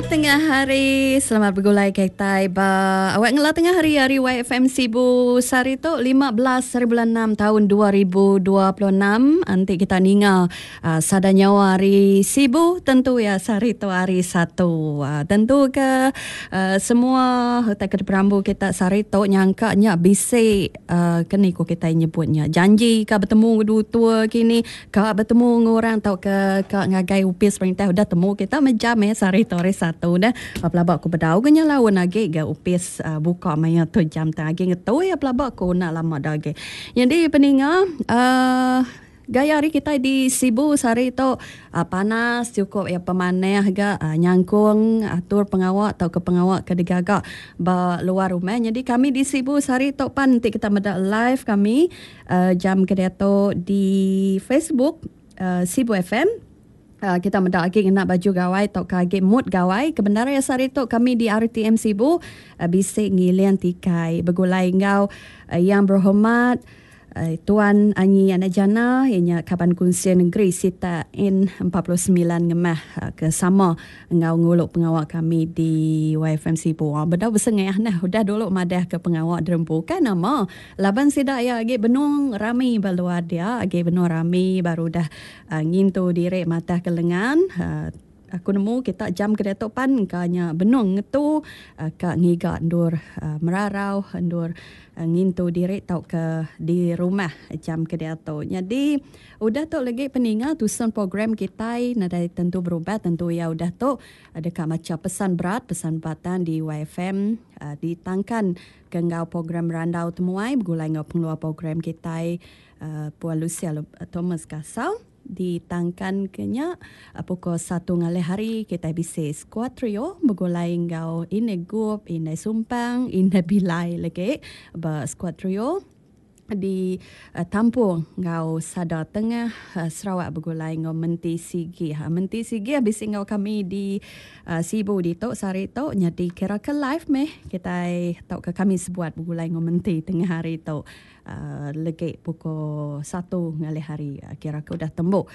Tengah hari, selamat begulai kitai ba awak ngela tengah hari ari YFM Sibu sehari tu 15 hari bulan 6 tahun 2026. Enti kita ninga uh, sada nyawa ari Sibu tentu ya sehari tu hari Satu. Uh, tentu ke uh, semua utai ke diperambu kita sehari tu nyangka nya bisi uh, keni ku kitai nyebut nya janji ka betemu tua kini Ka betemu enggau orang tauka ka ngagai opis perintah udah temu kita meh jam eh sehari tu hari Satu dah. Pelaba ku bedau ga nya laun agi ga opis uhh buka maya tu jam tang agi ngetu iya pelaba ku enda lama da agi. Nyadi peninga uhh gaya hari kitai di Sibu sehari tu uhh panas chukup iya pemanah ga uhh nyangkung atur pengawa tauka pengawa ke digaga ba luar rumah. Nyadi kami di Sibu sehari tu pan enti kita meda live kami Jam ke diatu di Facebook Sibu FM kita meda agi ngena baju gawai tauka agi mood gawai ke bendar iya sehari tu kami di RTM Sibu bisi ngiling tikai begulai enggau Yang Berhormat Tuan Anyi Anak Jana iya nya Kaban Kunsil Negeri Sitak N 49 Ngemah ke sama enggau ngulu pengawa kami di YFM Sibu. Bedau besengah neh udah dulu madah ke pengawa derempu kan nama Laban sida iya agi benung rami ba luar dia, agi benung rami baru udah ngintu diri matah ke lengan. Aku nemu kita jam ke diatu pan engka nya benung ngetu ka ngiga endur merarau, endur ngintu diri tauka di rumah jam ke diatu. Nyadi udah tu lagi peninga tusun program kitai nadai tentu berubah tentu iya udah tu deka macha pesan berat, pesan batang di YFM ditangkan Ke enggau program Randau Temuai begulai enggau pengeluar program kitai Puan Lucia Thomas Kasau ditangkan ke nya pukul satu ngalih hari kitai bisi skuad trio begulai enggau Indai Gup, Indai Sumpang, Indai Bilai lagi ba skuad trio. Di tampung enggau sada tengah Sarawak begulai enggau Menti Sigih. Menti Sigih bisi enggau kami di Sibu ditu sehari tu nyadi kira ke live meh kitai tauka kami sebuat begulai enggau Menti tengah hari tu legi pukul satu ngalih hari kira ke udah tembu.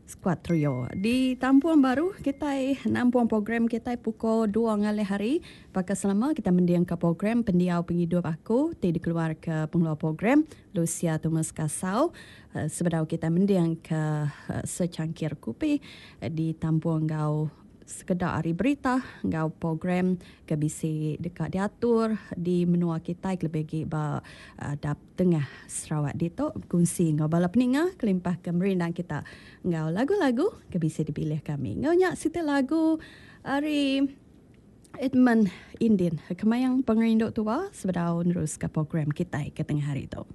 Skuad trio. Di tampung baru kitai nampung program kitai pukul dua ngalih hari. Baka selama kitai mendingka program Pendiau Pengidup Aku ti dikeluarka pengeluar program Lucia Thomas Kasau. Sebedau kitai mendingka secangkir kupi ditampung enggau Sekeda ari berita enggau program ke bisi deka diatur di menua kitai kelebih agi ba dap tengah Sarawak ditu bekunsi enggau bala peninga kelimpah ke merindang kita enggau lagu-lagu ke bisi dipilih kami. Enggau nya siti lagu ari Edmund Indin Kemayang Pengerindu Tua sebedau neruska program kitai ke tengah hari tu.